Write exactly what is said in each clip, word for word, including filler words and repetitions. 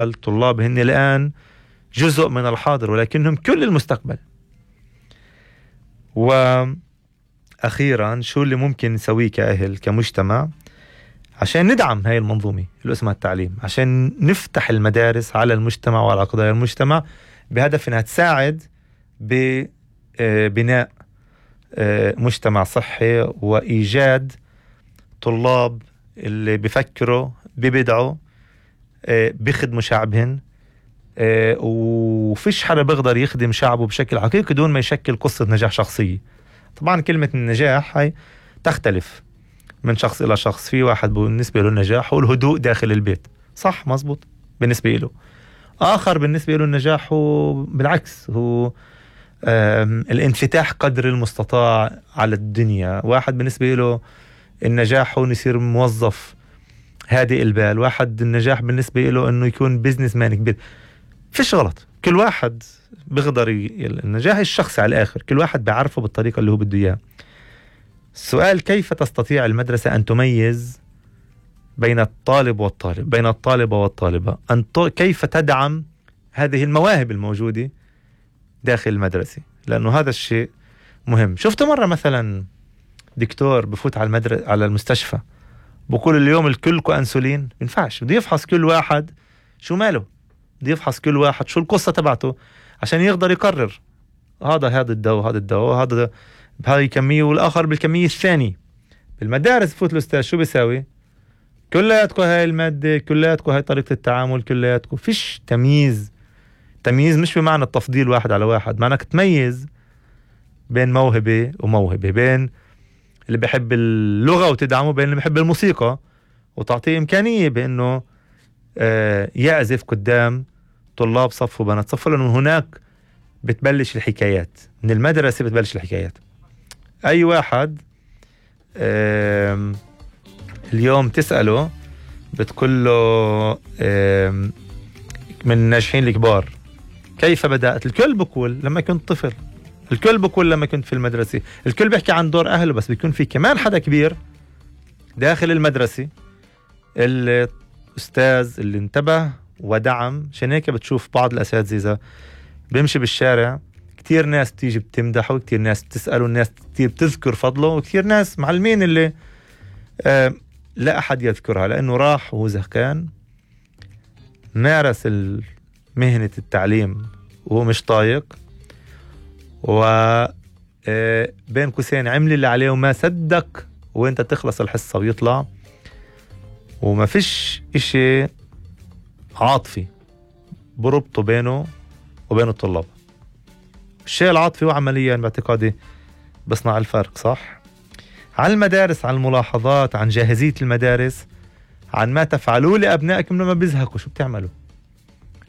الطلاب هن الآن جزء من الحاضر ولكنهم كل المستقبل. وأخيرا شو اللي ممكن نسويه كأهل كمجتمع عشان ندعم هاي المنظومة اللي اسمها التعليم، عشان نفتح المدارس على المجتمع وعلى قضايا المجتمع بهدف انها تساعد ببناء مجتمع صحي وإيجاد طلاب اللي بيفكروا ببدعوا بيخدموا شعبهن، وفيش حدا بيقدر يخدم شعبه بشكل حقيقي دون ما يشكل قصة نجاح شخصية. طبعا كلمة النجاح هاي تختلف من شخص إلى شخص. في واحد بالنسبة له النجاح هو الهدوء داخل البيت، صح مزبوط بالنسبة له. آخر بالنسبة له النجاح هو بالعكس، هو الانفتاح قدر المستطاع على الدنيا. واحد بالنسبة له النجاح هو يصير موظف هادئ البال. واحد النجاح بالنسبة له أنه يكون بيزنس مان كبير. فيش غلط، كل واحد بيقدر ي... النجاح الشخصي على الآخر كل واحد بيعرفه بالطريقة اللي هو بده إياها. السؤال كيف تستطيع المدرسة أن تميز بين الطالب والطالب، بين الطالبة والطالبة، أن ت... كيف تدعم هذه المواهب الموجودة داخل المدرسة، لأنه هذا الشيء مهم. شفت مرة مثلا دكتور بفوت على المدرسة على المستشفى بقول اليوم الكلكو أنسولين؟ ينفعش، بده يفحص كل واحد شو ماله، بده يفحص كل واحد شو القصة تبعته عشان يقدر يقرر هذا هذا الدواء هذا الدواء هذا بهذه الكمية والآخر بالكمية الثانية. بالمدارس بفوت الأستاذ شو بيساوي؟ كلياتكم هاي المادة، كلياتكم هاي طريقة التعامل، كلياتكم. فيش تمييز. تمييز مش بمعنى التفضيل واحد على واحد، معناك تميز بين موهبة وموهبة، بين اللي بيحب اللغة وتدعمه بين اللي بيحب الموسيقى، وتعطيه إمكانية بأنه آه يعزف قدام طلاب صف وبنات صف، لأنه هناك بتبلش الحكايات من المدرسة. بتبلش الحكايات. أي واحد آه اليوم تسأله بتقول له آه من الناجحين الكبار كيف بدأت؟ الكل بقول لما كنت طفل، الكل بقول لما كنت في المدرسة، الكل بيحكي عن دور أهله، بس بيكون في كمان حدا كبير داخل المدرسة، الأستاذ اللي انتبه ودعم. عشان هيك بتشوف بعض الأساتذة بيمشي بالشارع كتير ناس تيجي بتمدحه، وكتير ناس بتسأله، الناس كتير بتذكر فضله، وكتير ناس معلمين اللي آه لا أحد يذكرها لأنه راح وهو زهقان مارس مهنة التعليم وهو مش طايق، و بين قوسين عمل اللي عليه وما صدق وانت تخلص الحصة ويطلع، وما فيش اشي عاطفي بربطه بينه وبين الطلاب. الشيء العاطفي وعمليا باعتقادي بصنع الفرق. صح؟ عن المدارس، عن الملاحظات، عن جاهزية المدارس، عن ما تفعلوه لأبنائكم لما بيزهقوا. شو بتعملوا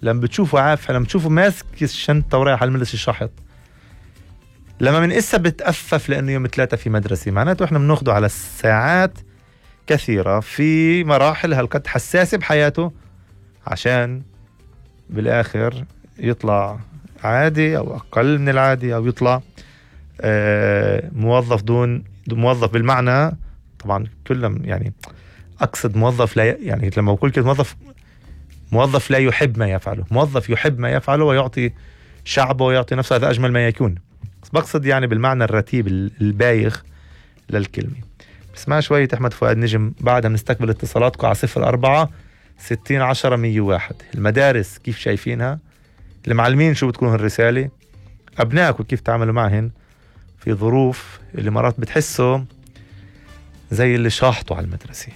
لما بتشوفوا عافية، لما بتشوفوا ماسك الشنطة ورايح على المدرسة الشحط، لما من إسا بتأفف لأنه يوم ثلاثة في مدرسة، معناته إحنا بناخده على ساعات كثيرة في مراحل هالقد حساسة بحياته عشان بالآخر يطلع عادي أو أقل من العادي، أو يطلع آه موظف دون موظف بالمعنى طبعا كلهم، يعني أقصد موظف لا يعني لما أقول كده موظف موظف لا يحب ما يفعله، موظف يحب ما يفعله ويعطي شعبه ويعطي نفسه، هذا أجمل ما يكون. بس بقصد يعني بالمعنى الرتيب البايخ للكلمة. بسمع شوية أحمد فؤاد نجم، بعدها بنستقبل اتصالاتكم على صفر أربعة ستين عشرة مية واحد. المدارس كيف شايفينها؟ المعلمين شو بتكون الرسالة؟ أبنائكم كيف تعملوا معهن في ظروف اللي مرات بتحسوا زي اللي شاحطوا على المدرسة؟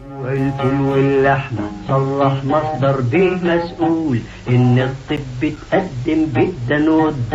والفول واللحمة صلح مصدر به مسؤول إن الطب تقدم جدا والدكتور